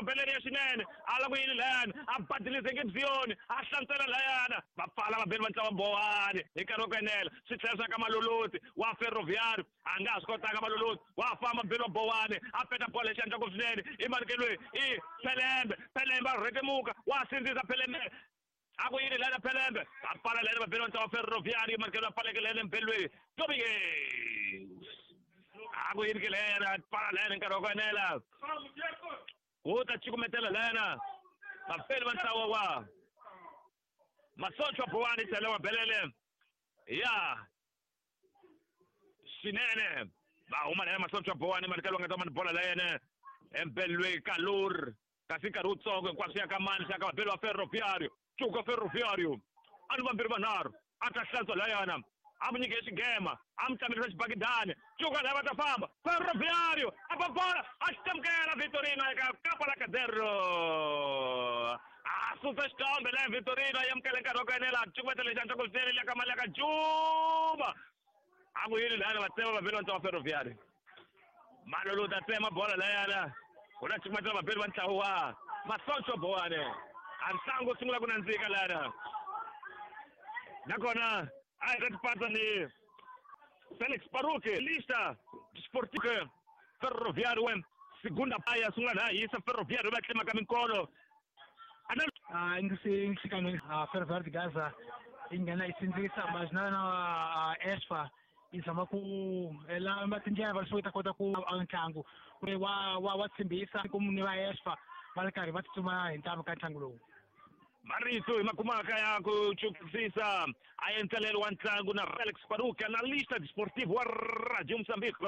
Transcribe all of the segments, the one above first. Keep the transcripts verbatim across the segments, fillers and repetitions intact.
Belele ya xinene a la ku yini layani a badilise ngibziyoni a hlantswela layana va pfala vabeli va ntlawa Bowani hi nkarhi wa ku enela swi tlhela swa ka Maloloti wa Ferroviário a nga ha swi kotanga Maloloti wa famba beli wa Bowani a peta bolo hi xandla ku swinene i manukelweni i Pelembe Pelembe a rhetemuka wa sindzisa Pelembe a ku yini layana Pelembe va pfala layana vabeli va ntlawa Ferroviário manukelweni a pfaleke layana embelweni Domingues a ku yini ke layana pfala layana hi nkarhi wa ku enela ku ta cukumetela layana vafeli va ntlawa wa Masoncho Bowani tlhela wa Belele ya swinene va huma layana Masoncho Bowani manikelo nga ta mani bola layene embelwe Kalur kasi nkarhi wutsongo hinkwaswo ya ka mani swa ka vabeli va Ferroviário cuka Ferroviário a ni vambirhi vanharhu a ta hlantswa layana a mu nyike xigema a mu tlamelisa xibakidani cuka laya va ta famba Ferroviário a ba bola a xi tamukela Vitorino eka kapa la Cadero a susa xitombe laya Vitorino a amukela nkarhi wa ku enela a cukumetela lexi antswaka swinene liya ka mali ya ka Juma a ku yini layana va tsema vabeli va ntlawa Ferroviário Malolo ta tsema bola layana u ta cukumetela vabeli va ntlawa wa Masoncho Bowani a ntlangu wu sungula ku nandzika layana nakona a hi ta tipatsa ni Felix Paruque lista Sportivo Ferroviário segunda paya sungula laha hisa Ferroviário va tlemaka minkolo ah ingisikano a Ferroviário de Gaza yi nghena yi sindzisa mas na a Esfa yi zama ku lava tindlela va leswaku yi ta kota ku ntlangu wa wa wa tshembisa ku ni va Esfa va ri karhi va tsutsuma hi ntamu ka ntlangu lowu. Marito hi makumaka ya ku chukisisa a endlelelo wa ntlangu na Felix Paruque analista desportivo wa Radio Moçambique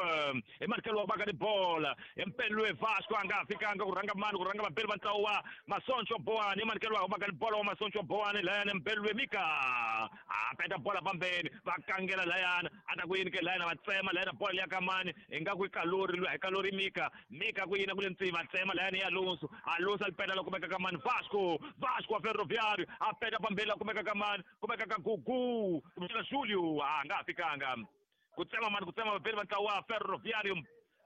hi manikelo wa baka ni bola empelwe Vasco a nga ha fikanga ku rhanga mani ku rhanga vabeli va ntlawa wa Masoncho Bowani hi manikelo wa baka ni bola wa Masoncho Bowani layana empelwe Mika a peta bola pambeni va kangela layana a ta ku yini ke layana va tsema layana bola liya ka mani ingaku i Kalori lwiya hi Kalori Mika Mika ku yini ku le ntsini va tsema layana ya Alonso Alonso a li peta la kumeka ka mani Vasco Vasco wa Ferroviário a peta pambeni la kumeka ka mani kumeka ka Gugu kumbexana Julio a nga ha fikanga ku tsema mani ku tsema vabeli va ntlawa wa Ferroviário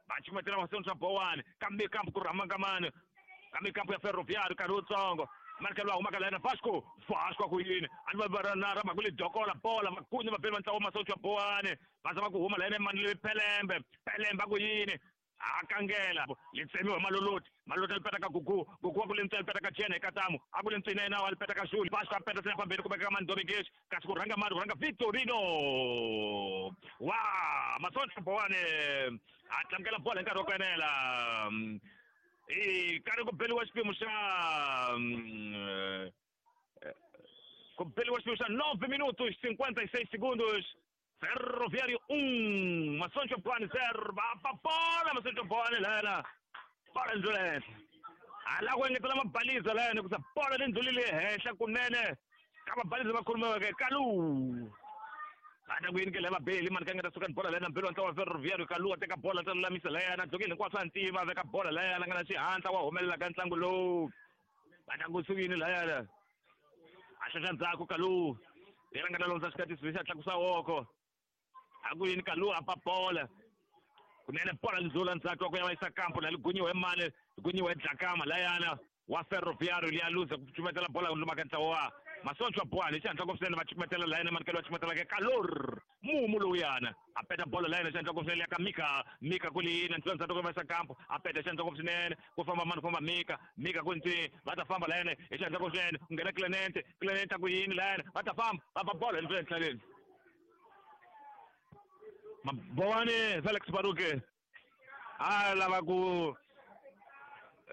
va cukumetela Masoncho Bowani kambe kampu ku rhama ka mani kambe kampu ya Ferroviário nkarhi wutsongo manikelo wa humaka layana Vasco Vasco a ku yini a ni va na rhamba ku li dokola bola makunye vabeli va ntlawa wa Masoncho Bowani va zama ku huma layana mani le Pelembe Pelembe a ku yini a kangela li tsemiwa Maloloti Maloloti a li peta ka Gugu Gugu wa ku le ntsini a li peta ka Jene Katamu a ku le ntsini yena wa li peta ka Juli Vasco a peta sina pambeni kumeka ka mani Domingues kasi ku rhanga mani ku rhanga Vitorino wa Masoncho Bowani a tlamukela bola hi nkarhi wa ku enela i karhi ku beliwa xiphemu xa ku beliwa xiphemu xa nove minutos cinquenta e seis segundos Ferroviário um, Masoncho Bowani zero, va pa bola Masoncho Bowani lana bola ndlule henhla a la ku engetela mabaliza layani ku sa bola leyi ndlulile henhla kunene ka mabaliza va khulumiweke Kalu a ta ku yini ke laya vabeli mani ka nga ta suka ni bola layana mbeli wa ntlawa wa Ferroviário Kalu a teka bola ta lulamisa layana dzongeni hinkwaswo a ntima a veka bola layana nga na xihatla wa humelela ka ntlangu lowu va ta ku sukini layana a xaxa ndzhaku Kalu yena nga ta londza xikatisi lexi a tlakusa woko a ku yini Kalu a pa bola kunene bola ndlula ndzhaku wa ku ya va yisa kampo la li gunyiwe mani li gunyiwe Dlakama layana wa Ferroviário liya luza ku cukumetela bola luma ka ntlawa wa Masoncho Bowani xihatla ku swinene va cukumetela layana manikelo va cukumetela ke Kalor mumu lowuyana a peta bola layana xihatla ku swinene ya ka Mika Mika ku liyini ndlula ndzhaku ku va yisa kampo a peta xihatla ku swinene ku famba mani ku famba Mika Mika ku ntsi va ta famba layana hi xihatla ku swinene ku nghena Clemente Clemente a ku yini layana va ta famba va ba bola ndlula enhlaleni Bowani Felix Paruque a lava ku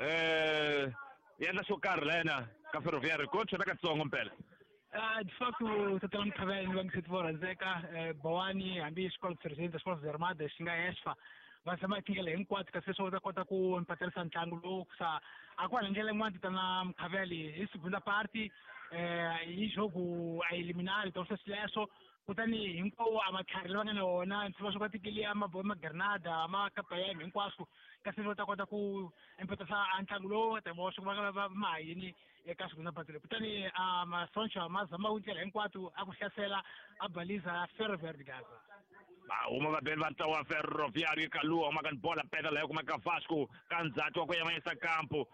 eh endla xo karhi layena ka Ferroviário ko chona katsongo mpela. Ah, de facto tatana Mkhavela ni vangiseti vo rhandzeka Bowani hambi xikolo presidente xikolo Armadas xi nga Esfa va zama tindlela hinkwato kasi leswaku va ta kota ku mpaterisa ntlangu lowu sa a ku hala ndlela yin'wana tatana Mkhavela hi segunda parte eh hi jogo a eliminar então sweswo kutani hinkwawo a matlhari lava nga na wona ndzi va swo ka tikili a ma Granada ma Kapayem hinkwaswo kasi va ta kota ku empatisa a ntlangu lowu ta va swi va va ma yini eka segunda parte leyi kutani a Masoncho ma zama ku ndlela hinkwato a ku hlasela a baliza Ferroviário de Gaza. Va huma vabeli va ntlawa wa Ferroviário Kalu huma ka bola peta leyo kumeka Vasco ka ndzhaku wa ku ya va yisa kampo